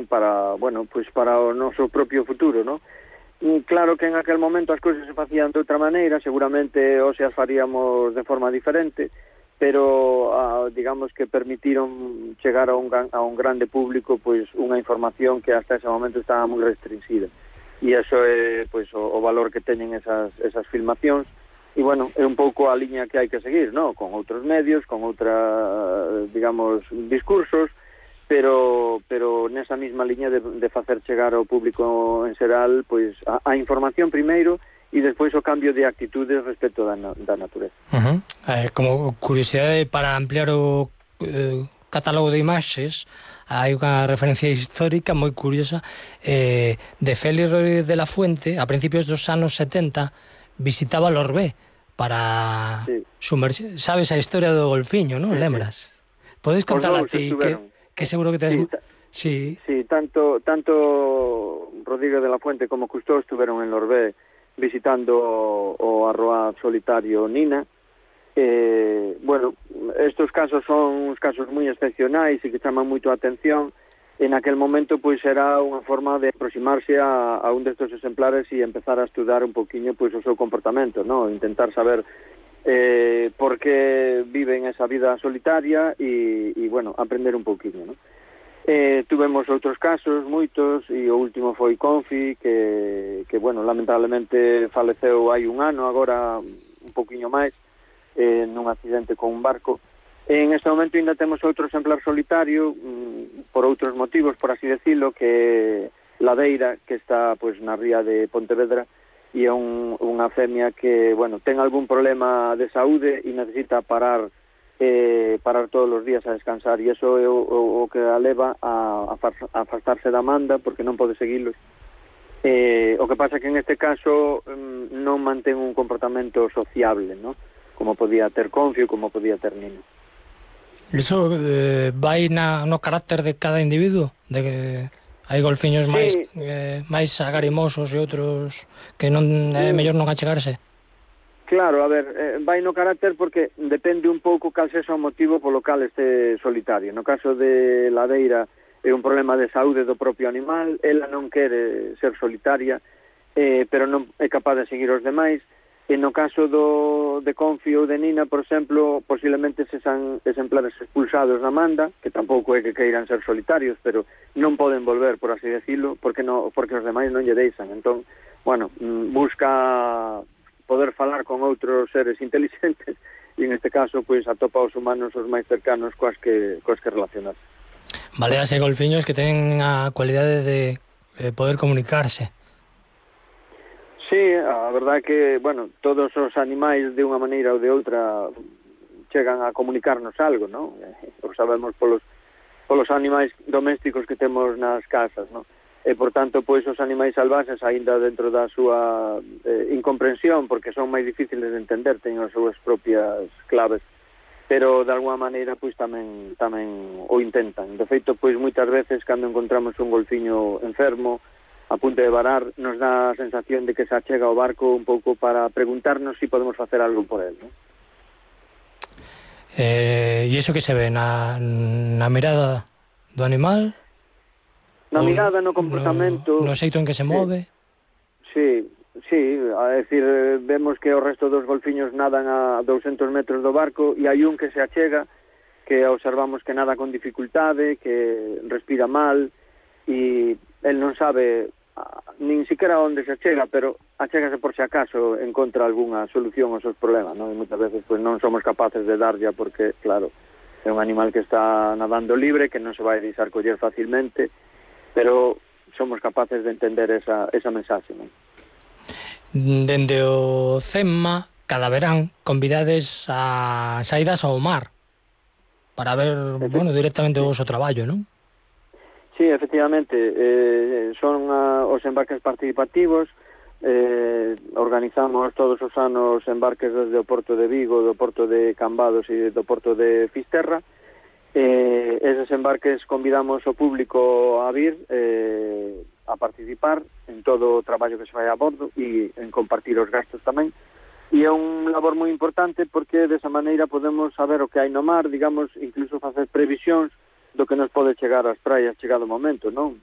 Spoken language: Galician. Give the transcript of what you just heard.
para, bueno, pois para o noso propio futuro, non? Claro que en aquel momento as cousas se facían de outra maneira, seguramente hoxe as faríamos de forma diferente, pero digamos que permitiron chegar a un grande público pois unha información que hasta ese momento estaba moi restringida. E iso é pois o valor que teñen esas filmacións. E, bueno, é un pouco a liña que hai que seguir, non? Con outros medios, con digamos, discursos, pero nesa mesma liña de facer chegar ao público en xeral pois a información primeiro e despois o cambio de actitudes respecto da natureza. Como curiosidade, para ampliar o catálogo de imaxes, hai unha referencia histórica moi curiosa de Félix Rodríguez de la Fuente, a principios dos anos 70, visitaba Lorbé para sumerxir. Sabes a historia do golfiño, non? Lembras? Podes contar a ti, que seguro que tes... Sí, tanto Rodríguez de la Fuente como Cousteau estuveron en Lorbé visitando o arroaz solitario Nina. Bueno, estos casos son uns casos moi excepcionais e que chaman moito a atención. En aquel momento pois era unha forma de aproximarse a un destes exemplares e empezar a estudar un poquinho pois o seu comportamento, ¿no? Intentar saber por que viven esa vida solitaria e bueno, aprender un poquinho, ¿no? Tuvemos outros casos, moitos, e o último foi Confi, que bueno, lamentablemente faleceu hai un ano, agora un poquinho máis, nun accidente con un barco. En este momento ainda temos outro exemplar solitario, por outros motivos, por así decirlo, que Ladeira, que está pois na ría de Pontevedra, e é unha femia que, bueno, ten algún problema de saúde e necesita parar todos os días a descansar, e iso é o que a leva a afastarse da manda porque non pode seguilos. O que pasa que en este caso non mantén un comportamento sociable, ¿no? Como podía ter Confio, como podía ter Nino. Iso vai no carácter de cada individuo, de que hai golfiños máis agarimosos e outros que non é mellor non achegarse. Claro, a ver, vai no carácter porque depende un pouco cal sexa o motivo polo cal este solitario. No caso de Ladeira é un problema de saúde do propio animal, ela non quere ser solitaria, pero non é capaz de seguir os demais. E no caso de Confio ou de Nina, por exemplo, posiblemente sexan exemplares expulsados na manda, que tampouco é que queiran ser solitarios, pero non poden volver, por así decirlo, porque os demais non lle deixan. Entón, bueno, busca poder falar con outros seres inteligentes e, en este caso, pois atopa os humanos os máis cercanos coas que relacionarse. Baleas e golfiños que ten a cualidade de poder comunicarse. Sí, a verdade que, bueno, todos os animais de unha maneira ou de outra chegan a comunicarnos algo, non? O sabemos polos animais domésticos que temos nas casas, non? E, por tanto, pois os animais salvaxes, aínda dentro da súa incomprensión, porque son máis difíciles de entender, teñen as súas propias claves, pero de alguma maneira pois tamén o intentan. De feito, pois moitas veces cando encontramos un golfiño enfermo a punto de varar, nos dá a sensación de que se achega ao barco un pouco para preguntarnos se podemos facer algo por él, ¿no? E iso que se ve na mirada do animal? Na mirada, no comportamento... No xeito en que se move? Sí, a decir, vemos que o resto dos golfiños nadan a 200 metros do barco e hai un que se achega, que observamos que nada con dificultade, que respira mal, e el non sabe nin siquiera onde se achega, pero achégase por si acaso encontra algunha solución aos seus problemas, non? E moitas veces pois non somos capaces de darlle porque, claro, é un animal que está nadando libre, que non se vai deixar coller facilmente, pero somos capaces de entender esa mensaxe, non? Dende o CEMMA, cada verán, convidades a saídas ao mar para ver, bueno, directamente o vosso traballo, non? Sí, efectivamente, son os embarques participativos, organizamos todos os anos embarques desde o Porto de Vigo, do Porto de Cambados e do Porto de Fisterra. Eses embarques convidamos o público a vir a participar en todo o traballo que se vai a bordo e en compartir os gastos tamén. E é un labor moi importante porque desa maneira podemos saber o que hai no mar, digamos, incluso facer previsións do que nos pode chegar ás praias chegado o momento, non?